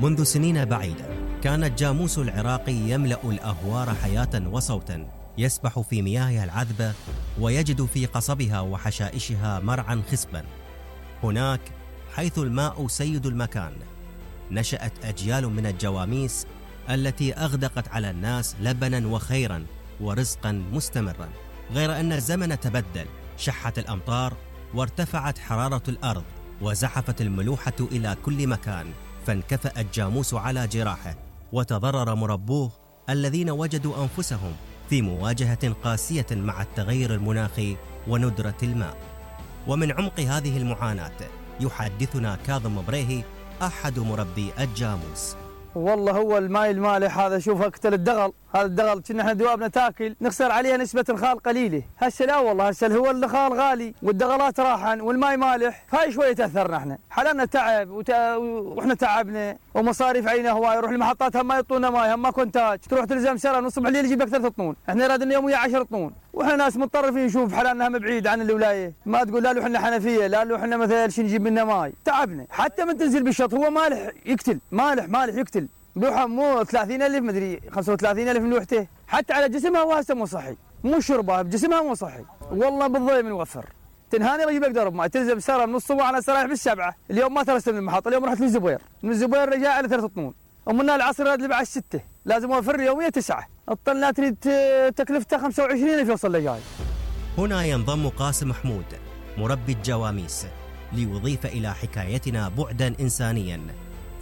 منذ سنين بعيدة كان الجاموس العراقي يملأ الأهوار حياة وصوتا، يسبح في مياهها العذبة ويجد في قصبها وحشائشها مرعا خصبا. هناك حيث الماء سيد المكان نشأت أجيال من الجواميس التي أغدقت على الناس لبنا وخيرا ورزقا مستمرا، غير أن الزمن تبدل، شحت الأمطار وارتفعت حرارة الأرض وزحفت الملوحة إلى كل مكان، فانكفأ الجاموس على جراحه وتضرر مربوه الذين وجدوا أنفسهم في مواجهة قاسية مع التغير المناخي وندرة الماء. ومن عمق هذه المعاناة يحدثنا كاظم بريهي أحد مربي الجاموس. والله هو الماء المالح هذا، شوف اقتل الدغل، هذا الدغل كنا احنا دوابنا تاكل نخسر عليها نسبة الخال قليلة، هسه لا والله هسه هو الخال غالي والدغلات راحن والماء مالح، هاي شوية تأثرنا احنا، حلمنا تعب واحنا تعبنا ومصاريف علينا هواي، نروح المحطات هم ما يعطونا ماي، هم ما كونتاج، تروح تلزم سرة من الصبح الليل يجيب لك 3 طنون، احنا رادنا يوميا 10 طنون، واحنا ناس متطرفين نشوف حلالنا هم بعيد عن الولاية، ما تقول لا له احنا حنفية، لا له احنا مثلا شي نجيب منه ماي، تعبنا، حتى من تنزل بالشط هو مالح يقتل، مالح يقتل. ملوحة مو 30,000 مدري 35,000 ملوحته، حتى على جسمها هو هسه مو صحي، مو شربها بجسمها مو صحي، والله بالضيم نوفر. تنهاني رجيب اقدر بماء، تلزم سره من الصبح على سرايح بالسبعه، اليوم ما ترست من المحطه، اليوم رحت للزبير، من الزبير رجع على 3 طنون، ومن العصر راد بعد 6، لازم اوفر يوميا 9، الطن لا تريد تكلفته 25,000 يوصل لجاي. هنا ينضم قاسم محمود مربي الجواميس ليضيف إلى حكايتنا بعدا إنسانيا،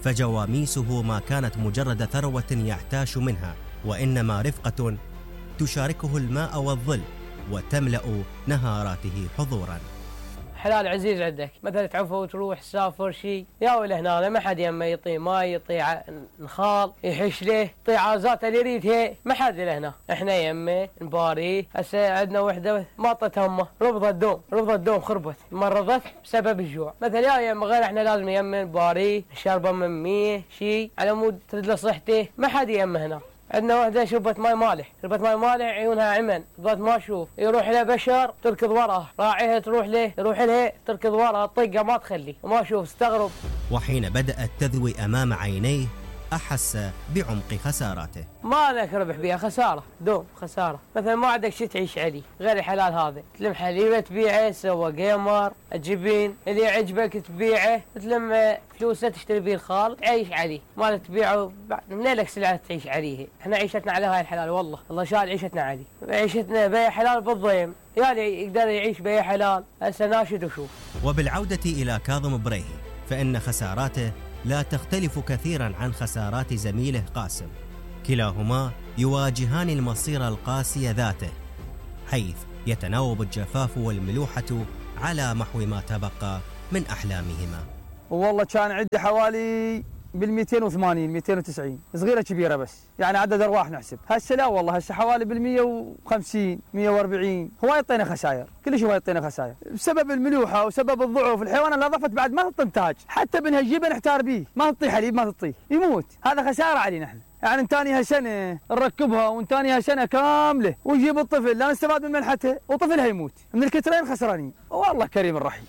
فجواميسه ما كانت مجرد ثروة يحتاش منها، وإنما رفقة تشاركه الماء والظل وتملأ نهاراته حضورا. حلال عزيز عندك، مثلا تعفى وتروح تسافر شيء يا ولا هنا ما حد يمه يطي ماي، يطي نخال يحش له، يطي عازات اللي يريدها، ما حد له هنا، احنا يمه نباريه. هسه عندنا وحده ما طت همه، رفض الدوم خربت، مرضت بسبب الجوع، مثلا يا يمه غير احنا لازم يمه نباريه، نشربه من ميه شيء على مود ترد له صحته، ما حد يمه هنا. عندنا وحده شربت ماي مالح، عيونها عمن، ضد ما اشوف، يروح له بشر تركض وراه، راعيها تروح لها تركض وراه، طقه ما تخلي، وما اشوف استغرب. وحين بدأت تذوي أمام عينيه أحس بعمق خساراته. ما لك ربح بها، خسارة، دوم خسارة، مثلا ما عندك شيء تعيش عليه غير الحلال هذا، تلم حليبة تبيعه، سوى قيمر، الجبين اللي يعجبك تبيعه، تلم فلوسه تشتري به الخال تعيش عليه، ما تبيعه من لك سلعة تعيش عليه. احنا عيشتنا على هاي الحلال، والله شال عيشتنا عليه، عيشتنا بيع حلال بالضيم، يعني يقدر يعيش بيع حلال. هسه ناشد وشوف. وبالعودة إلى كاظم بريهي فإن خساراته لا تختلف كثيرا عن خسارات زميله قاسم، كلاهما يواجهان المصير القاسي ذاته، حيث يتناوب الجفاف والملوحة على محو ما تبقى من أحلامهما. والله كان عندي حوالي بال280 290 صغيره كبيره، بس يعني عدد ارواح نحسب. هسه لا والله هسه حوالي بال150 140 هواي يعطينا خسائر، كل شيء يعطينا خسائر بسبب الملوحه وسبب الضعف. الحيوان اللي ضفت بعد ما تعطي انتاج، حتى بنهجيبه نحتار به، ما تعطي حليب، ما تعطيه، يموت، هذا خساره علينا احنا. يعني انتانيها سنه نركبها وانتانيها سنه كامله ونجيب الطفل لا نستفاد من منحته وطفلها يموت، من الكترين خسرانين، والله كريم الرحيم.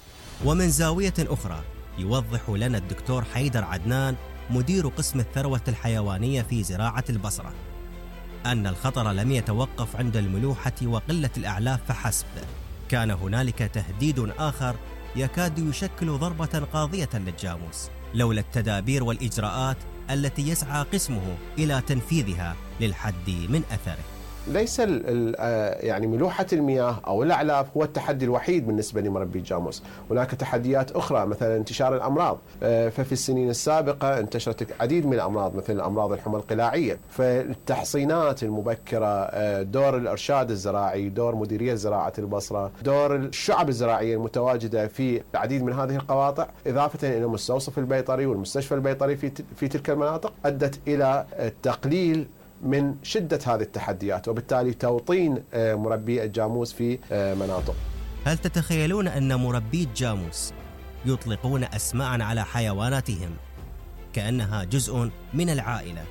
ومن زاويه اخرى يوضح لنا الدكتور حيدر عدنان مدير قسم الثروة الحيوانية في زراعة البصرة أن الخطر لم يتوقف عند الملوحة وقلة الأعلاف فحسب، كان هنالك تهديد آخر يكاد يشكل ضربة قاضية للجاموس لولا التدابير والإجراءات التي يسعى قسمه إلى تنفيذها للحد من أثره. ليس يعني ملوحة المياه أو الأعلاف هو التحدي الوحيد بالنسبة لمربي الجاموس، هناك تحديات أخرى مثلا انتشار الأمراض، ففي السنين السابقة انتشرت العديد من الأمراض مثل الأمراض الحمى القلاعية، فالتحصينات المبكرة، دور الإرشاد الزراعي، دور مديرية زراعة البصرة، دور الشعب الزراعية المتواجدة في العديد من هذه القواطع، إضافة إلى المستوصف البيطري والمستشفى البيطري في تلك المناطق، أدت إلى التقليل من شدة هذه التحديات وبالتالي توطين مربي الجاموس في مناطق. هل تتخيلون أن مربي الجاموس يطلقون أسماء على حيواناتهم كأنها جزء من العائلة؟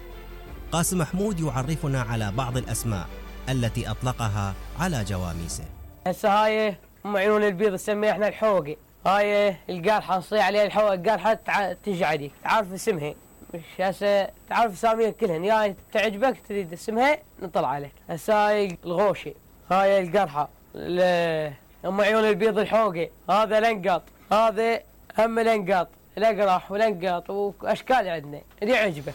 قاسم محمود يعرفنا على بعض الأسماء التي أطلقها على جواميسه. هسه هاي عيون البيض نسميها احنا الحوقي، هاي القارحة نصيح عليها القارحة تجي عليك، تعرف اسمها مش هسه تعرف اساميها كلهن، يا تعجبك تريد اسمها نطلع عليك. هسه هاي الغوشه، هاي القرحه، ام عيون البيض الحوقه، هذا لنقاط، هذا هم لنقاط، الاقراح ولنقاط واشكال عندنا اللي يعجبك.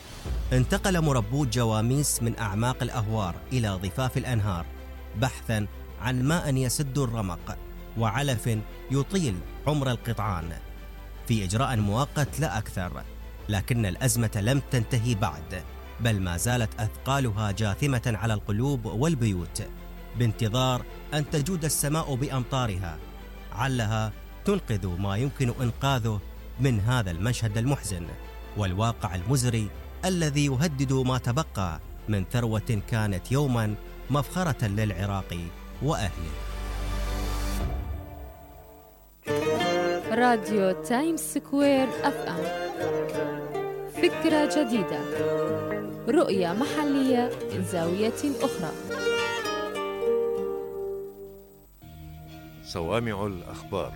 انتقل مربو جواميس من أعماق الأهوار إلى ضفاف الأنهار بحثاً عن ماء يسد الرمق وعلف يطيل عمر القطعان في إجراء مؤقت لا أكثر. لكن الأزمة لم تنتهي بعد، بل ما زالت أثقالها جاثمة على القلوب والبيوت بانتظار أن تجود السماء بأمطارها، علها تنقذ ما يمكن إنقاذه من هذا المشهد المحزن والواقع المزري الذي يهدد ما تبقى من ثروة كانت يوما مفخرة للعراق وأهله. راديو تايمز سكوير FM، فكرة جديدة، رؤية محلية من زاوية أخرى. صوامع الأخبار،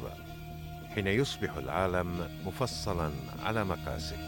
حين يصبح العالم مفصلا على مقاسك.